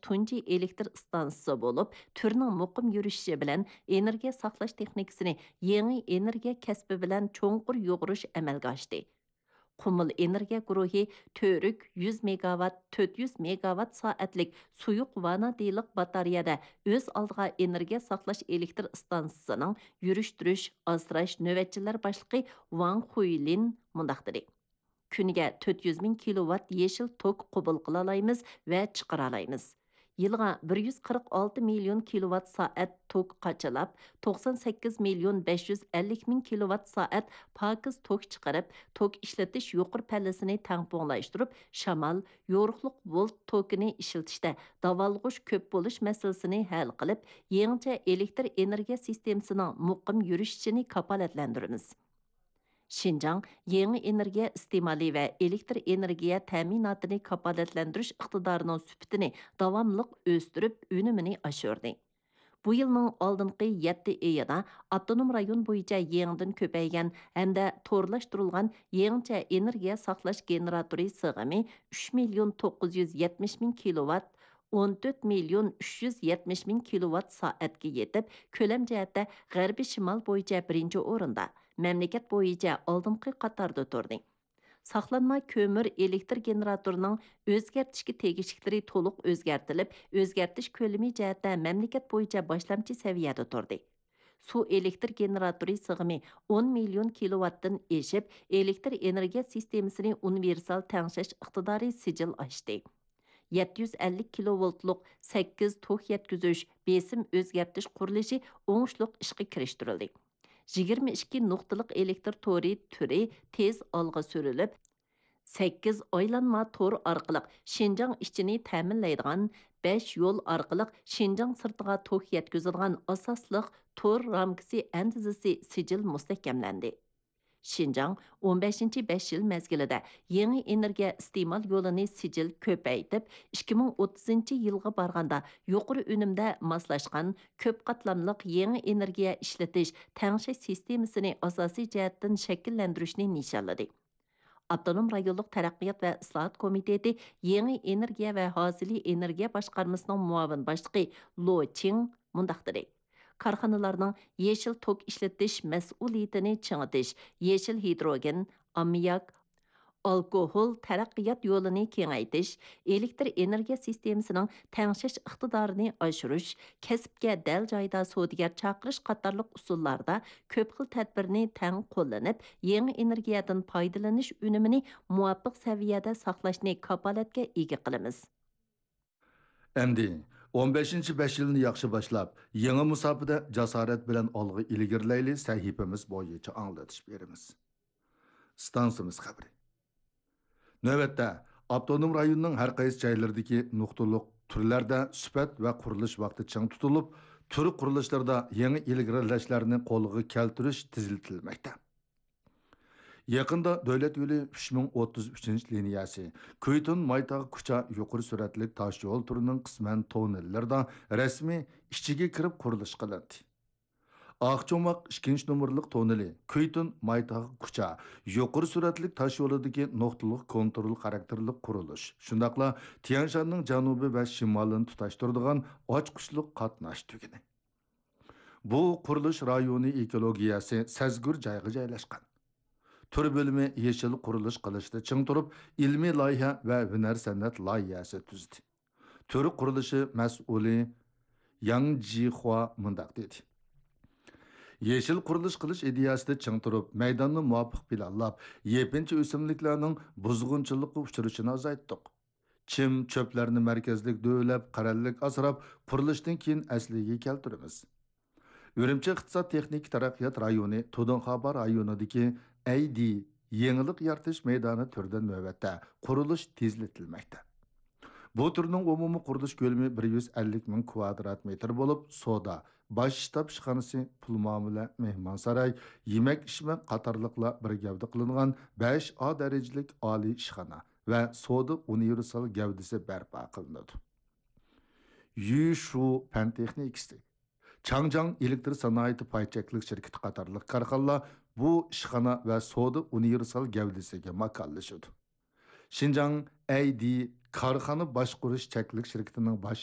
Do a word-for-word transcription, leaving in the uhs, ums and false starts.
تۇنجى ئېلېكتر ئىستانسىسى بولۇپ، تۈرنىڭ مۇقىم يۈرۈشۈشى بىلەن ئېنېرگىيە ساقلاش تېخنىكىسىنى يېڭى ئېنېرگىيە كەسپى بىلەن چوڭقۇر يۇغۇرۇش ئەمەلگە ئاشتى. قۇمۇل ئېنېرگىيە گۇرۇھى تۈرك يۈز مېگاۋات، تۆت يۈز مېگاۋات سائەتلىك سۇيۇق ۋانادىنلىق باتارېيەدە ئۆز ئالدىغا ئېنېرگىيە ساقلاش ئېلېكتر ئىستانسىسىنىڭ يۈرۈشتۈرۈش، ئاسراش نۆۋەتچىلەر باشلىقى ۋاڭ خۇيلىن مۇنداق دېدى: كۈنىگە تۆت يۈز مىڭ كىلوۋات يېشىل توك قوبۇل قىلالايمىز ۋە چىقىرالايمىز. يىلىغا بىر يۈز قىرىق ئالتە مىليون كىلوۋات سائەت توك قاچىلاپ، توقسان سەككىز مىليون بەش يۈز ئەللىك مىڭ كىلوۋات سائەت پاكىز توك چىقىرىپ، توك ئىشلىتىش يۇقىرى پەللىسىنى تەڭپۇڭلاشتۇرۇپ، شامال، يورۇقلۇق ۋولت توكىنى ئىشلىتىشتە داۋالغۇش كۆپ بولۇش مەسىلىسىنى ھەل قىلىپ، يېڭىچە ئېلېكتر ئېنېرگىيە سىستېمىسىنىڭ مۇقىم يۈرۈشۈشىنى كاپالەتلەندۈرىمىز. شىنجاڭ يېڭى ئېنېرگىيە ئىستېمالى ۋە ئېلېكتر ئېنېرگىيە تەمىناتىنى كاپالەتلەندۈرۈش ئىقتىدارىنىڭ سۈپىتىنى داۋاملىق ئۆستۈرۈپ، ئۈنۈمىنى ئاشۇردى. بۇ يىلنىڭ ئالدىنقى يەتتە ئېيىدا ئاپتونوم رايون بويىچە يېڭىدىن كۆپەيگەن ھەمدە تورلاشتۇرۇلغان يېڭىچە ئېنېرگىيە ساقلاش گېنېراتورى سىغىمى ئۈچ مىليون توققۇز يۈز يەتمىش مىڭ كىلوۋات، ئون تۆت مىليون ئۈچ يۈز يەتمىش مىڭ كىلوۋات سائەتكە يېتىپ، كۆلەم جەھەتتە غەربىي شىمال بويىچە بىرىنچى ئورۇندا، مەملىكەت بويىچە ئالدىنقى قاتاردا تۇردى. ساقلانما كۆمۈر ئېلېكتر گېنېراتورىنىڭ ئۆزگەرتىشكە تېگىشلىكلىرى تولۇق ئۆزگەرتىلىپ، ئۆزگەرتىش كۆلىمى جەھەتتە مەملىكەت بويىچە باشلامچى سەۋىيەدە تۇردى. سۇ ئېلېكتر گېنېراتورى سىغىمى ئون مىليون كىلوۋاتتىن ئېشىپ، ئېلېكتر ئېنېرگىيە سىستېمىسىنى ئۇنىۋېرسال تەڭشەش ئىقتىدارى سىجىل ئاشتى. يەتتە يۈز ئەللىك كىلوۋولتلۇق سەككىز توك يەتكۈزۈش، بېسىم ئۆزگەرتىش قۇرۇلۇشى ئوڭۇشلۇق ئىشقا كىرىشتۈرۈلدى. يىگىرمە ئىككى نۇقتىلىق ئېلېكتر تورى تۈرى تېز ئالغا سۈرۈلۈپ، سەككىز ئايلانما تور ئارقىلىق شىنجاڭ ئىچىنى تەمىنلەيدىغان بەش يول ئارقىلىق شىنجاڭ سىرتىغا توك يەتكۈزىدىغان ئاساسلىق تور رامكىسى ئەندىزىسى سىجىل مۇستەھكەملەندى. شىنجاڭ ئون بەشىنچى بەش يىل مەزگىلىدە يېڭى ئېنېرگىيە ئىستېمال يولىنى سىجىل كۆپەيتىپ، ئىككى مىڭ ئوتتۇزىنچى يىلغا بارغاندا يۇقىرى ئۈنۈمدە ماسلاشقان كۆپ قاتلاملىق يېڭى ئېنېرگىيە ئىشلىتىش، تەڭشەش سىستېمىسىنى ئاساسىي جەھەتتىن شەكىللەندۈرۈشنى نىشانلىدى. ئاپتونوم رايونلۇق تەرەققىيات ۋە ئىسلاھات كومىتېتى يېڭى ئېنېرگىيە ۋە ھازىلى ئېنېرگىيە باشقارمىسىنىڭ مۇئاۋىن باشلىقى لو چىڭ مۇنداق دېدى: كارخانىلارنىڭ يېشىل توك ئىشلىتىش مەسئۇلىيىتىنى چىڭىتىش، يېشىل ھىدروگېن، ئاممىياك، ئالكوھول تەرەققىيات يولىنى كېڭەيتىش، ئېلېكتر ئېنېرگىيە سىستېمىسىنىڭ تەڭشەش ئىقتىدارىنى ئاشۇرۇش، كەسىپكە دەل جايىدا سودىگەر چاقىرىش قاتارلىق ئۇسۇللاردا كۆپ خىل تەدبىرنى تەڭ قوللىنىپ، يېڭى ئېنېرگىيەدىن پايدىلىنىش ئۈنۈمىنى مۇۋاپىق سەۋىيەدە ساقلاشنى كاپالەتكە ئىگە قىلىمىز. ئەمدى ئون بەشىنچى بەش يىلنى ياخشى باشلاپ، يېڭى مۇساپىدە جاسارەت بىلەن ئالغا ئىلگىرىلەيلى سەھىپىمىز بويىچە ئاڭلىتىش بېرىمىز. ئىستانسىمىز خەۋىرى. نۆۋەتتە، ئاپتونوم رايوننىڭ ھەر قايسى جايلىرىدىكى نۇقتىلىق تۈرلەردە سۈپەت ۋە قۇرۇلۇش ۋاقتى چىڭ تۇتۇلۇپ، تۈر قۇرۇلۇشلىرىدا يېڭى ئىلگىرىلەشلەرنى قولغا كەلتۈرۈش تېزلىتىلمەكتە. يېقىندا دۆلەت يولى ئۈچ مىڭ ئوتتۇز ئۈچىنچى لىنىيەسى، كۈيتۇن مايتاغ كۇچا يۇقىرى سۈرئەتلىك تاش يول تۈرىنىڭ قىسمەن توننېللىرىدا رەسمىي ئىچىگە كىرىپ قۇرۇلۇش قىلىندى. ئاقچوماق ئىككىنچى نومۇرلۇق توننېلى، كۈيتۇن مايتاغ كۇچا يۇقىرى سۈرئەتلىك تاش يولىدىكى نۇقتىلىق كونترول خاراكتېرلىك قۇرۇلۇش، شۇنداقلا تيەنشاننىڭ جەنۇبى ۋە شىمالىنى تۇتاشتۇرىدىغان ئاچقۇچلۇق قاتناش تۈگۈنى. بۇ قۇرۇلۇش رايونى ئېكولوگىيەسى سەزگۈر جايغا جايلاشقان. تۈر بۆلۈمى يېشىل قۇرۇلۇش قىلىشتا چىڭ تۇرۇپ، ئىلمىي لايىھە ۋە ھۈنەر سەنئەت لايىھەسى تۈزدى. تۈر قۇرۇلۇشى مەسئۇلى ياڭ جىخۇا مۇنداق دېدى: يېشىل قۇرۇلۇش قىلىش ئىدىيەسىدە چىڭ تۇرۇپ، مەيداننى مۇۋاپىق پىلانلاپ، يېپىنچا ئۆسۈملۈكلەرنىڭ بۇزغۇنچىلىققا ئۇچرىشىنى ئازايتتۇق. چىم، چۆپلەرنى مەركەزلىك دۆۋىلەپ، قەرەللىك ئاسراپ، قۇرۇلۇشتىن كېيىن ئەسلىگە كەلتۈرىمىز. ئۈرۈمچى ئىقتىساد تېخنىكا تەرەققىيات رايونى تۇدۇڭخابا رايونىدىكى ئەيدى يېڭىلىق يارىتىش مەيدانى تۈرىدە نۆۋەتتە قۇرۇلۇش تېزلىتىلمەكتە. بۇ تۈرنىڭ ئومۇمىي قۇرۇلۇش كۆلىمى بىر يۈز ئەللىك مىڭ كۋادرات مېتىر بولۇپ، سودا، باش شتاب ئىشخانىسى، پۇل مۇئامىلە، مېھمانساراي، يېمەك-ئىچمەك قاتارلىقلار بىر گەۋدە قىلىنغان بەش ئا دەرىجىلىك ئالىي ئىشخانا ۋە سودا ئۇنىۋېرسال گەۋدىسى بەرپا قىلىنىدۇ. يۈشۇ پەن تېخنىكىسى، چاڭجياڭ ئېلېكتر سانائىتى پاي چەكلىك شىركىتى قاتارلىق كارخانىلار بۇ ئىشخانا ۋە سودا ئۇنىۋېرسال گەۋدىسىگە ماكانلىشىدۇ. شىنجاڭ ئەيدى كارخانا باشقۇرۇش چەكلىك شىركىتىنىڭ باش